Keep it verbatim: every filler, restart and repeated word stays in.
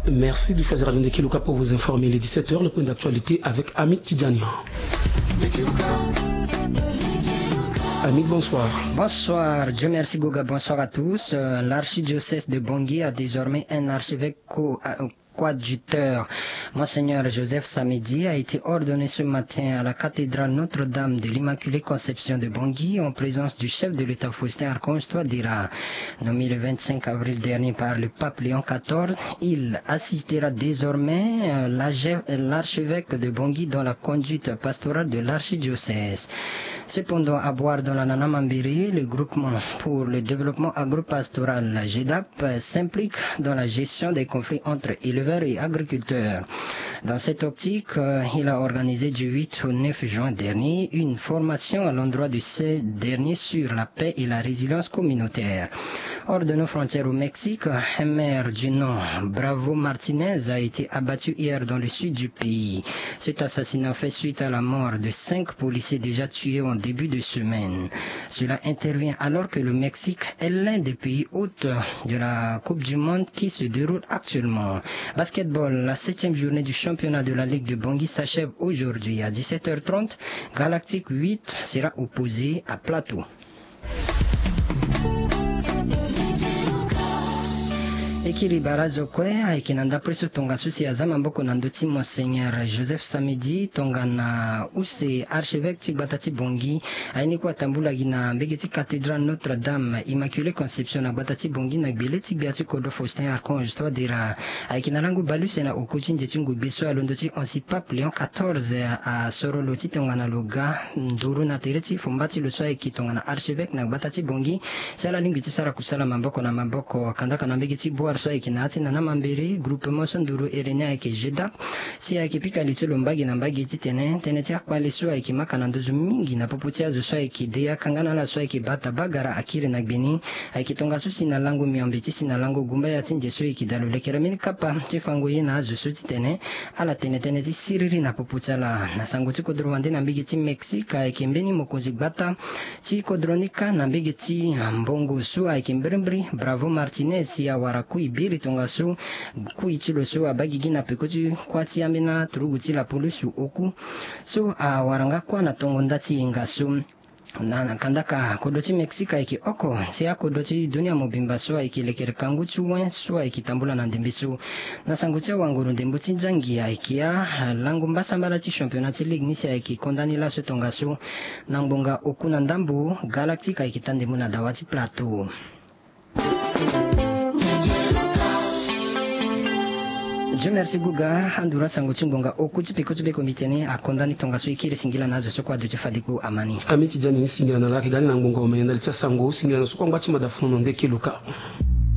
Merci de choisir Radio Ndeke Luka pour vous informer. Il est dix-sept heures, le point d'actualité avec Amit Tidjani. Amit, bonsoir. Bonsoir, Dieu merci Goga, bonsoir à tous. Euh, l'archidiocèse de Bangui a désormais un archevêque co- euh, coadjuteur. Monseigneur Joseph Samedi a été ordonné ce matin à la cathédrale Notre-Dame de l'Immaculée Conception de Bangui en présence du chef de l'État Faustin Archange Touadéra. Nommé le vingt-cinq avril dernier par le pape Léon quatorze, il assistera désormais euh, l'archevêque de Bangui dans la conduite pastorale de l'archidiocèse. Cependant, à Boire dans la Nana Mambéré, le groupement pour le développement agropastoral GEDAP s'implique dans la gestion des conflits entre éleveurs et agriculteurs. Dans cette optique, euh, il a organisé du huit au neuf juin dernier une formation à l'endroit de ces derniers sur la paix et la résilience communautaire. Hors de nos frontières au Mexique, un maire du nom, Bravo Martinez, a été abattu hier dans le sud du pays. Cet assassinat fait suite à la mort de cinq policiers déjà tués en début de semaine. Cela intervient alors que le Mexique est l'un des pays hôtes de la Coupe du Monde qui se déroule actuellement. Basketball, la septième journée du championnat de la Ligue de Bangui s'achève aujourd'hui. À dix-sept heures trente, Galactique huit sera opposé à Plateau. E kiri barazo kue ayeke na ndapre so tongaso si aza maboko na ndö ti Monseigneur Joseph Samedi tongana use archevêque ti gbata ti Bangui. Aye ni kue atambula gi na mbege ti cathédrale Notre-Dame Immaculée Conception na gbata ti Bangui na gbele ti gbia ti kodro Faustin Archange Touadéra. Ayeke na lango baleuse na oku ti nze ti ngogbe so alondo ti ansi pape Léon quatorze asoro lo ti tongana lo ga nduru na tere ti fomba ti lo so ayeke tongana archevêque na gbata ti Bangui. Si ala lingbi ti sara kusala maboko na maboko kandaka na mbege ti Boire so ayeke na ya ti Nana Mambéré, groupement so nduru ere ni ayeke GEDAP. Si ayeke pika li ti lo mbage na mbage titene tënë ti akpale so ayeke maka na nduzu mingi na popo ti azo so ayeke de yaka nga na ala so ayeke bata bagara akiri na gbe ni. Ayeke tongaso si na lango miombe ti si na lango gumbaya ti nze so e yeke dalo lekere mbeni kapa ti fango ye na azo so titene ala tene tënë ti siriri na popo ti ala. Na sango ti kodro wande na mbege ti Mexique ayeke mbeni mokonzi gbata ti kodro ni kâ na mbege ti mbongo so ayeke mbirimbiri Bravo Martinez si awara kui biri tongaso. Kui ti lo so abaa gigi na peko ti kuâ ti ambeni aturugu ti lapulusu oku so awara nga kuâ na tongo nda ti yenga so. Na kandaka kodro ti Mexique ayeke oko ti akodro ti dunia mobimba so ayeke lekere kangu ti wen so ayeke tambula na ndembe so. Na sango ti awanguru ndembo ti nzangi ayeke alango mbasambala ti championnat ti ligue ni si ayeke konda ni laso tongaso. Na ngbonga oku na ndambo Galactique ayeke taa ndembo na dawa ti Plateau. Dieu merci Guga. Anduru asango ti ngbonga oku ti peko ti be komite ni akonda ni tongaso e kiri singila na azo so kue aduti fade kpo ama ni. Ami ti dia ni singila na lake ga ni na ngbonga omene ndali ti asango singila na so kue angba ti mada fono na ndeke luka.